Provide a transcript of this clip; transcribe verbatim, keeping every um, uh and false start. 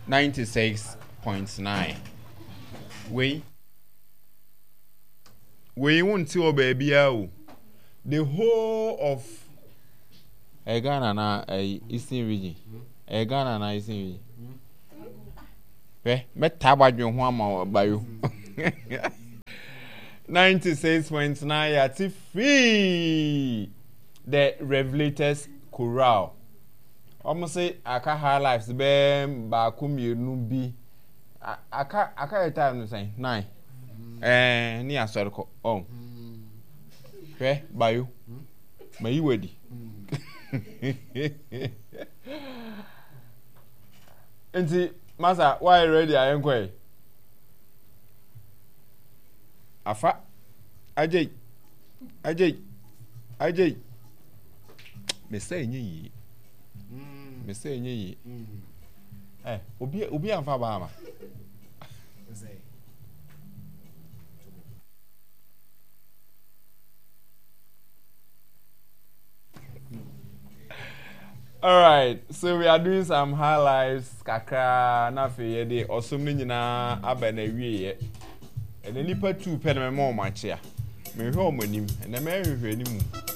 Ninety six point nine. Wei wei wonte wɔ baabiara o. The whole of ɛyɛ Ghana na ɛyɛ Eastern region. Ɛyɛ Ghana na Eastern region. Hwɛ mɛtaa badwen ho ama wo bayo. Ninety six point nine yɛate free the Revelators Chorale. Wɔn se aka high lives bɛɛ baako mmienu bi. Aka aka yɛ time no sɛn nine. Ɛɛ ne asɔre kɔ ɔn. Hwɛ bayo mayi wadi. Nti masa wayɛ ready a yɛnkɔ yi. Afa agyei agyei agyei mesɛ ɛnyɛ yie mesɛ ɛnyɛ yie ɛ obi obi anfa ba ama. Alright, so we are doing some highlights kakra na afei yɛde ɔsom no nyinaa aba na awieɛ. Ɛnɛ nipa tu pɛ na mɛma wɔn akyea. Mehwɛ wɔn anim, ɛnɛ mɛhwehwɛ anim.